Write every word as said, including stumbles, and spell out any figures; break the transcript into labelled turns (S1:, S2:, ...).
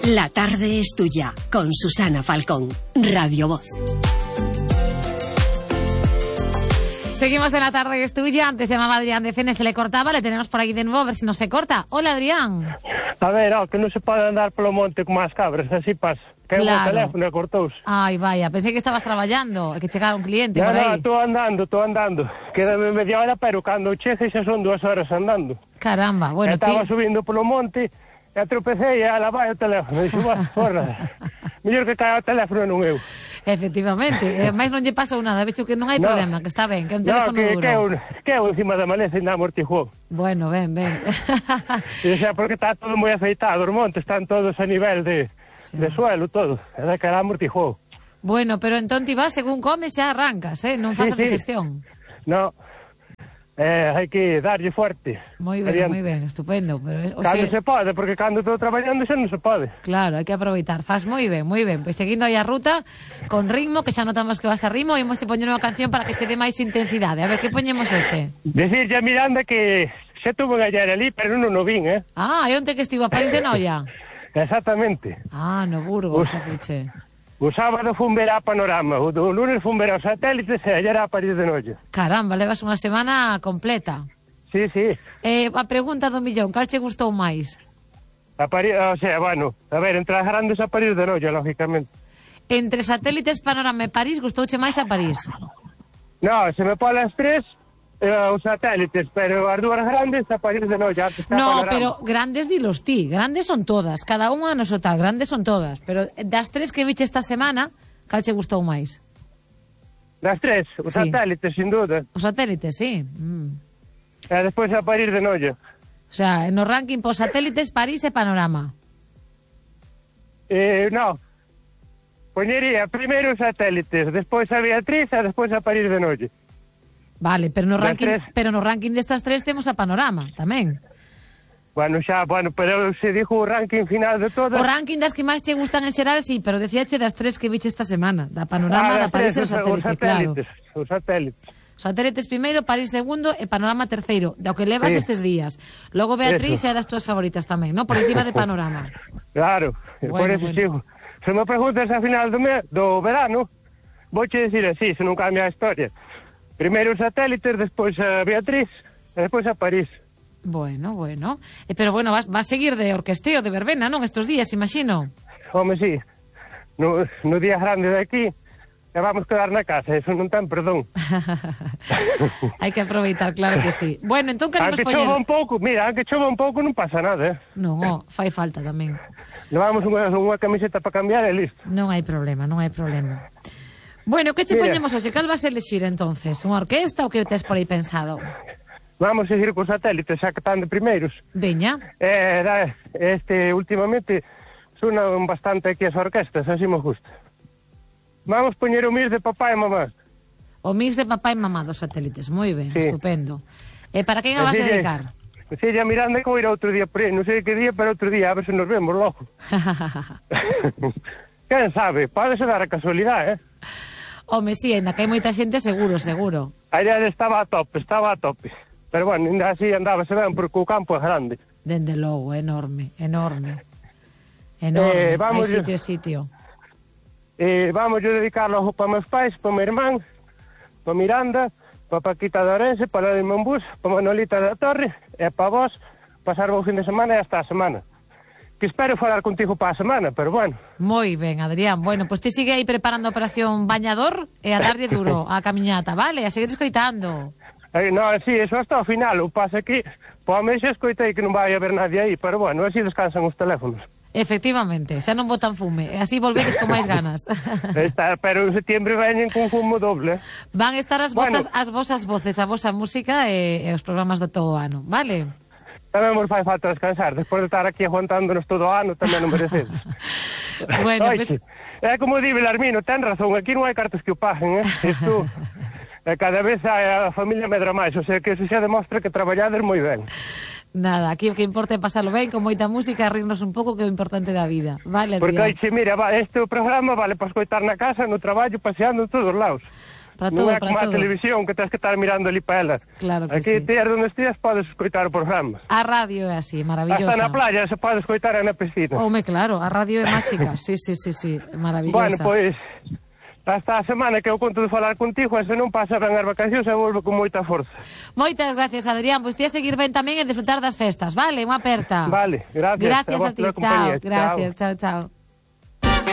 S1: La tarde es tuya, con Susana Falcón, Radio Voz.
S2: Seguimos en La tarde es tuya. Antes llamaba Adrián de Fene, se le cortaba, le tenemos por aquí de nuevo, a ver si no se corta. Hola, Adrián.
S3: A ver, oh, que non se pode andar polo monte con as cabras, así pasa. Que
S2: Claro.
S3: o teléfono e cortouse.
S2: Ay, vaya, pensé que estabas traballando, que chegara un cliente
S3: Ya,
S2: por
S3: no,
S2: aí.
S3: estou andando, estou andando. Quédame media hora, pero cando chegue xa son dúas horas andando.
S2: Caramba, bueno,
S3: e estaba
S2: ti...
S3: subindo polo monte, e atropecei e ala vai o teléfono. Dixo, "Buah, porra, mellor que caia o teléfono non eu."
S2: Efectivamente, e máis non lle pasou nada, vexo que non hai
S3: No.
S2: problema, que está ben, que é un
S3: No,
S2: teléfono
S3: que,
S2: duro.
S3: que, eu, que eu encima da maleza ainda amortiguou.
S2: Bueno, ben, ben.
S3: E xa, porque está todo moi afeitado, os montes están todos a nivel de,
S2: Sí.
S3: de suelo, todo. E da que era amortiguou.
S2: Bueno, pero entón ti vas, según comes, xa arrancas, eh? Non
S3: Sí,
S2: fazas
S3: sí.
S2: digestión.
S3: No, eh, hai que darlle fuerte.
S2: Moi ben,
S3: Adiante.
S2: moi ben, estupendo. Pero, o
S3: Cando
S2: sea,
S3: se pode, porque cando estou traballando xa non se pode.
S2: claro, hai que aproveitar. Faz moi ben, moi ben. Pois seguindo aí a ruta, con ritmo, que xa notamos que vas a ritmo, e imos te poñer unha canción para que che dé máis intensidade. A ver, que poñemos ese?
S3: Decirlle a Miranda que xa tuvo ayer ali, pero non o vin, eh?
S2: Ah, e onte que estivo a París de Noia?
S3: Exactamente.
S2: Ah, no Burgos,
S3: Uf.
S2: xa fiche.
S3: O sábado fun ver a Panorama, o do lunes fun ver aos satélites e ayer a París de Noia.
S2: Caramba, levas unha semana completa.
S3: Sí, sí.
S2: Eh, a pregunta do millón, cal che gustou máis?
S3: A París, o sea, bueno, a ver, entre as grandes a París de Noia, lógicamente.
S2: Entre satélites, Panorama e París, gustouche máis a París?
S3: No, se me pon as tres, eh, os satélites, pero as dúas grandes a París de Noia. antes está
S2: No,
S3: Panorama.
S2: pero grandes dilos ti, grandes son todas, cada unha no seu tal, grandes son todas, pero das tres que viche esta semana, cal che gustou máis?
S3: Das tres, os
S2: Sí.
S3: satélites, sin duda.
S2: Os satélites, sí. Mm.
S3: E despois a París de Noia.
S2: O sea, no ranking por satélites, París e Panorama.
S3: Eh, no. Poñería primeiro os satélites, despois a Beatriz e despois a París de Noia.
S2: Vale, pero no
S3: Das
S2: ranking,
S3: tres.
S2: pero no ranking destas tres temos a Panorama, tamén.
S3: Bueno, xa, bueno, pero se dixo o ranking final de todas.
S2: O ranking das que máis che gustan en xeral, sí, pero decíache das tres que viche esta semana, da Panorama,
S3: Ah,
S2: da París e
S3: tres,
S2: do satélite, claro.
S3: satélites, os satélites.
S2: Satélites primeiro, París segundo e Panorama terceiro, do que levas
S3: Sí.
S2: estes días. Logo Beatriz
S3: Eso.
S2: é das túas favoritas tamén, ¿no? Por encima de Panorama.
S3: Claro,
S2: Bueno,
S3: por eso
S2: bueno.
S3: sigo. Se me preguntas a final do, me, do verano, vouche dicir así, se non cambia a historia. Primeiro os satélites, despois a Beatriz, e despois a París.
S2: Bueno, bueno. Eh, pero bueno, vas, vas a seguir de orquesteo, de verbena, non? Estos días, imagino.
S3: Home, sí, no, no día grande de aquí, e vamos quedar na casa, eso non ten perdón.
S2: Hai que aproveitar, claro que sí. Bueno, entón queremos
S3: Aunque
S2: poñer...
S3: chova un pouco, mira, aunque chova un pouco non pasa nada, eh.
S2: Non, oh, fai falta tamén.
S3: Levamos unha, unha camiseta para cambiar e listo.
S2: Non hai problema, non hai problema. Bueno, que che
S3: Mira.
S2: poñemos hoxe? Cal vas a elexir entonces? Unha orquesta ou que tes por aí pensado?
S3: Vamos a seguir cos satélites, xa que están de primeiros.
S2: Veña.
S3: Eh, da, este, últimamente, sonan bastante aquí as orquestas, así me gusta. Vamos poñer o mis de papá e mamá.
S2: O mix de papá e mamá dos satélites. Moi ben,
S3: Sí.
S2: estupendo. E para quen a vas a
S3: Así lle-
S2: dedicar?
S3: así lle a Miranda que vou ir outro día por aí, non sei que día, pero outro día, a ver se nos vemos logo. Quen sabe, pode ser dar a casualidade, eh?
S2: Home, si, ainda que hai moita xente, seguro, seguro.
S3: Ayer estaba a tope, estaba a tope. Pero bueno, ainda así andábase ben, porque o campo é grande.
S2: Dende logo, enorme, enorme. Enorme,
S3: Eh, vamos-
S2: hai sitio, sitio.
S3: Eh, vamos yo dedicarlo para meus pais, para meu irmán, para Miranda, para Paquita de Orense, para la de Monbús, para Manolita da Torre, e para vos, pasar o fin de semana e hasta a semana. Que espero falar contigo para a semana, pero bueno.
S2: Moi ben, Adrián. Bueno, pois pues ti sigue aí preparando a operación Bañador e a darlle duro á camiñata, vale? A seguir escoitando.
S3: Eh, no, sí, eso hasta o final, o pasa que, po a mí xa escoitei que non vai haber nadie aí, pero bueno, así descansan os teléfonos.
S2: Efectivamente, xa non botan fume, e así volvedes con máis ganas.
S3: Está, pero en septiembre veñen con fumo doble.
S2: Van estar as
S3: Bueno.
S2: vosas, as vosas voces, a vosa música e, e os programas do todo o ano, vale?
S3: Tamén nos fai falta descansar, despois de estar aquí aguantándonos todo o ano, tamén non merecemos.
S2: Bueno,
S3: Oixe,
S2: pues...
S3: é como di Belarmino, ten razón, aquí non hai cartas que o paguen, eh? Isto, eh, cada vez a, a familia medra máis, o sea que eso xa demostra que traballades moi ben.
S2: Nada, aquí o que importa é pasarlo ben, con moita música, rirnos un pouco, que é o importante da vida. Vale,
S3: Porque,
S2: Adrián?
S3: oixe, mira, va, este programa vale para escoitar na casa, no traballo, paseando en todos os lados.
S2: para todo,
S3: non é
S2: para
S3: como a
S2: todo.
S3: televisión que tens que estar mirando ali para ela.
S2: Claro que
S3: Aquí,
S2: sí.
S3: tías donde estías, podes escoitar o programa.
S2: A radio é así, maravillosa.
S3: Hasta na playa se pode escoitar na piscina.
S2: Home, claro, a radio é máxica. Sí, sí, sí, sí, maravillosa.
S3: Bueno, pois, hasta a semana que eu conto de falar contigo, e se non pasa ben as vacacións, e volvo con moita forza.
S2: Moitas gracias, Adrián. Pois ti a seguir ben tamén e disfrutar das festas, vale? Unha aperta.
S3: Vale, gracias.
S2: Gracias
S3: a
S2: a
S3: vos
S2: ti,
S3: pola
S2: chao.
S3: compañía.
S2: Gracias, chao, chao.